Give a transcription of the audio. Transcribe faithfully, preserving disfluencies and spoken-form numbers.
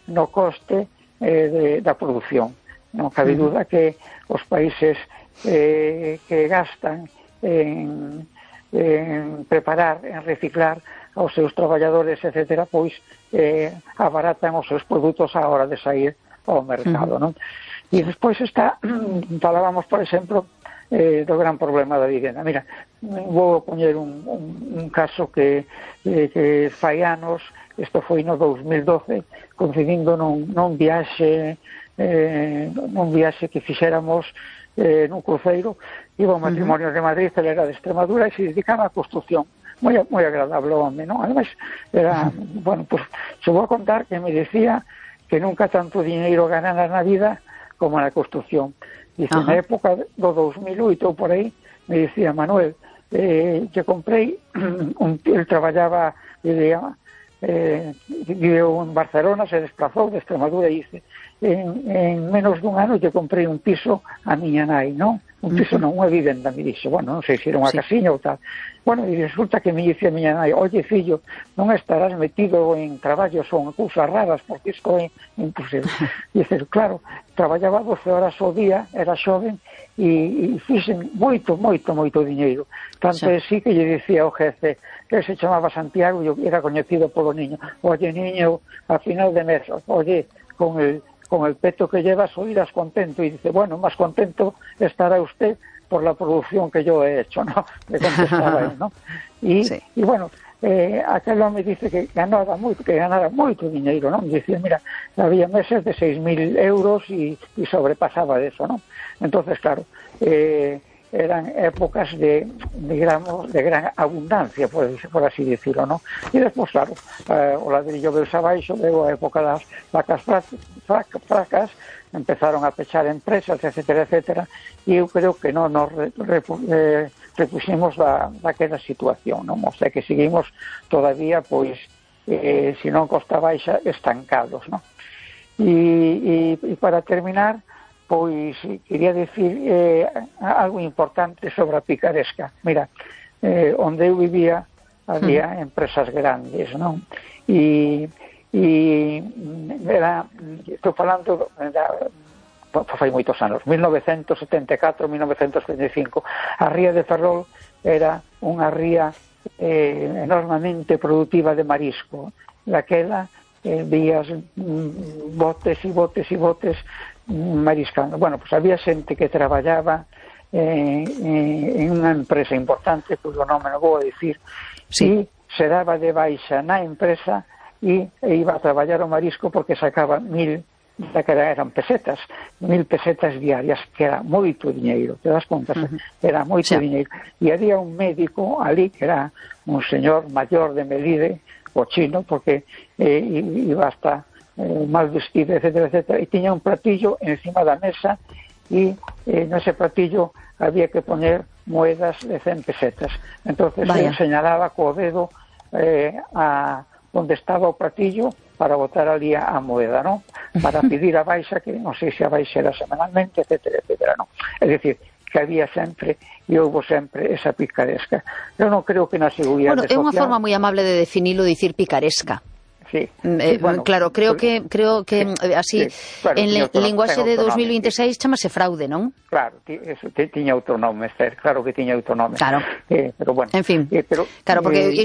no coste eh, de, da produción. Non cabe duda que os países eh, que gastan en, en preparar, en reciclar aos seus traballadores, etcétera, pois eh, abaratan os seus produtos á hora de sair ao mercado, non? E despois está, falábamos, por exemplo, eh, do gran problema da vivenda. Mira, vou poñer un, un, un caso que, eh, que fai anos, isto foi no dous mil doce, coincidindo nun, nun viaxe eh, nun viaxe que fixéramos eh, nun cruceiro, iba ao matrimonio de Madrid, ele era de Extremadura e se dedicaba á construción. Moi, moi agradable o home, non? Ademais, era, bueno, pues, se vou a contar que me decía que nunca tanto dinheiro ganara na vida como na construción. Dice, na época do dous mil oito, por aí, me dicía, Manuel, eh, que comprei, un, el traballaba, vivía, eh, viveu en Barcelona, se desplazou de Extremadura e dice, en, en menos dun ano que comprei un piso a miña nai, non? Un piso non, unha vivenda, me dixo, bueno, non sei se era unha sí. casiña ou tal. Bueno, e resulta que me dice a miña nai, oye, fillo, non estarás metido en traballos ou en cousas raras, porque isto é imposible. Dice, claro, traballaba doce horas ao día, era xoven, e, e fixen moito, moito, moito diñeiro. Tanto é sí que lle dicía ao jefe, que se chamaba Santiago, e era coñecido polo niño, oye, niño, a final de mes, oye, con el... con el peto que llevas oirás contento, y dice, bueno, más contento estará usted por la producción que yo he hecho, ¿no? Le contestaba él, ¿no? Y, sí. y bueno, eh, aquel hombre dice que ganaba moito, que ganara moito dinheiro, ¿no? Me decía, mira, había meses de seis mil euros y, y sobrepasaba de eso, ¿no? Entonces, claro, eh, eran épocas de, digamos, de gran abundancia, por, por así decirlo, ¿no? Y despois, claro, eh, o ladrillo veus abaixo, veo a época das vacas fracas, empezaron a pechar empresas, etcétera, etcétera, e eu creo que non nos re, re, eh, repuximos da, daquela situación, non? O sea, que seguimos todavía, pois, eh, se non costa baixa, estancados, non? E, e, e para terminar, pois quería decir eh, algo importante sobre a picaresca. Mira, eh, onde eu vivía había mm. empresas grandes, non? E, e era, estou falando da, fai moitos anos, mil novecentos setenta e catro, mil novecentos setenta e cinco, a ría de Ferrol era unha ría eh, enormemente productiva de marisco. Daquela eh, vías mm, botes e botes e botes mariscando. Bueno, pues había xente que traballaba eh, eh, en unha empresa importante, cuyo nome non vou a dicir, sí. e se daba de baixa na empresa e, e iba a traballar o marisco porque sacaba mil, que eran pesetas, mil pesetas diarias, que era moito diñeiro, te das conta, uh-huh. era moito sí. diñeiro. E había un médico ali, que era un señor maior de Melide, o chino, porque eh, iba hasta Eh, mal vestido, etcétera, etcétera, e tiña un platillo encima da mesa e eh, nese platillo había que poner moedas de cen pesetas. Entonces ele señalaba co dedo eh, a onde estaba o platillo para botar ali a, a moeda, ¿no? Para pedir a baixa, que non sei se a baixa era semanalmente, etcétera, etcétera, ¿no? É dicir, que había sempre e houve sempre esa picaresca. Eu non creo que na seguridade social... Bueno, é unha forma moi amable de definilo, dicir picaresca. Sí, eh, sí, bueno, claro, creo que creo que sí, así sí, claro, en le, linguaxe de dos mil veintiséis sí. chamase fraude, non? Claro, eso, tiña outro nome, claro que tiña outro nome. Claro. Eh, pero bueno, en fin. Eh, pero, claro, porque eh,